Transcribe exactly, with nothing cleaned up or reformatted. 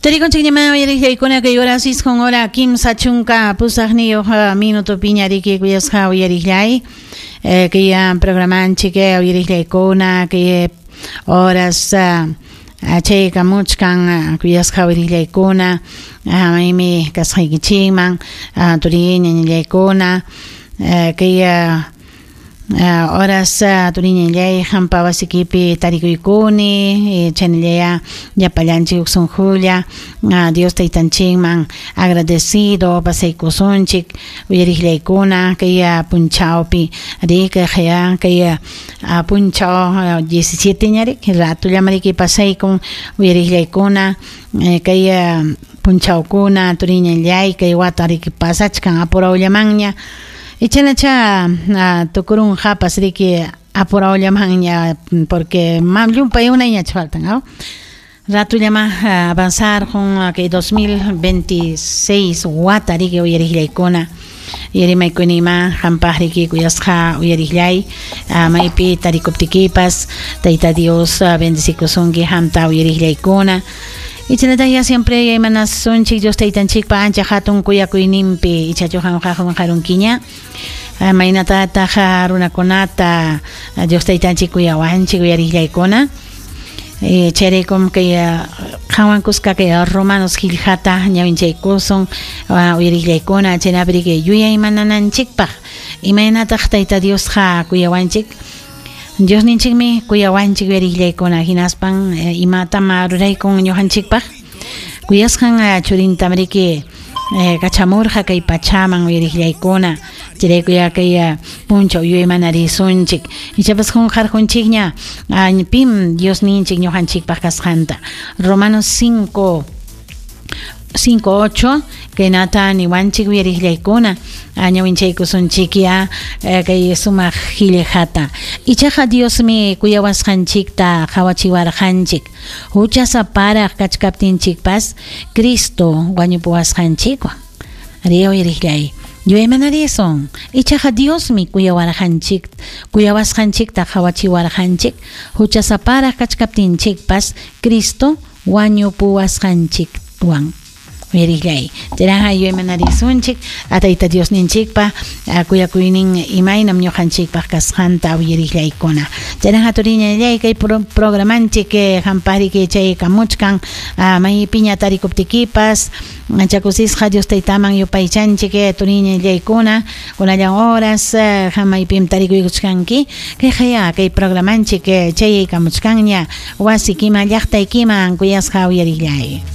Tarikunchikñama uyariqllaykuna kay horas isqun hora kimsa chunka pusaqniyuq minuto piñariki kuyasqa uyariqllay kay programanchik uyariqllaykuna kay horas chaykamuchkan kuyasqa uyariqllaykuna maymi kasqaykichikman turiña ñañallaykuna kay horas turiñallay hampa wasikipi tarikuykuni chaynallaya llapallanchik uqsunqulla Dios taytanchikman agradecido pasaykusunchik uyariqllaykuna kay punchawpi riki kaya kay punchaw diecisiete ñarik ratullamariki pasaykun uyariqllaykuna kay punchawkuna turiñallay kay wata riki pasachkan apurawllamanña Ichanacha tukurunqapas riki apurawllamanña porque mam llumpay unayñach faltan, ¿no? Ratullama avanzarqun kay dos mil veintiséis wata riki uyariqllaykuna yarimaykunima hampaq riki kuyasqa uyariqllay maypi tarikuptikipas Tayta Dios bendecikusunki hamta uyariqllaykuna. Ichanata ya siempre yaymanassunchik Dios taytanchikpa ancha hatun kuyakuyninpi ichachu qamqa qarunkiña maynatataq runakunata Dios taytanchik kuyawanchik uyariqllaykuna chayraykum kay qanwan kuska kay Romanos qillqata ñawinchaykusun uyariqllaykuna chaynapi riki yuyaymanananchikpaq imaynataq Tayta Diosqa kuyawanchik Diosninchikmi kuyawanchik uyariqllaykuna hinaspan imatam ruraykun ñuqanchikpaq kuyasqan churintam riki kachamurqa kay pachaman uyariqllaykuna chayraykuya kay punchaw yuyaymanarisunchik ichapas qunqarqunchikña pim Diosninchik ñuqanchikpaq kasqanta Romanos cinco cinco ocho kaynata niwanchik uyariqllaykuna ñawinchaykusunchikya kay sumaq qillqata ichaqa Diosmi kuyawasqanchikta qhawachiwarqanchik huchasaparaq kachkaptinchikpas Cristo wañupuwasqanchikwan ari uyariqllay yuyaymanarisun ichaqa Diosmi kuyawarqanchik kuyawasqanchikta qhawachiwarqanchik huchasaparaq kachkaptinchikpas Cristo wañupuwasqanchikwan uyariqllay chayraqa yuyaymanarisunchik Tayta Diosninchikpa kuyakuynin imaynam ñuqanchikpaq kasqanta uyariqllaykuna chayraqa turiñallay kay programanchik hampaqriki chaykamuchkan maypiña tarikuptikipas ancha kusisqa Dios taytaman yupaychanchik turiñallaykuna kunallan horas hamaypim tarikuykuchkanki kayqaya kay programanchik chaykamuchkanña wasikiman llaqtaykiman kuyasqa uyariqllay.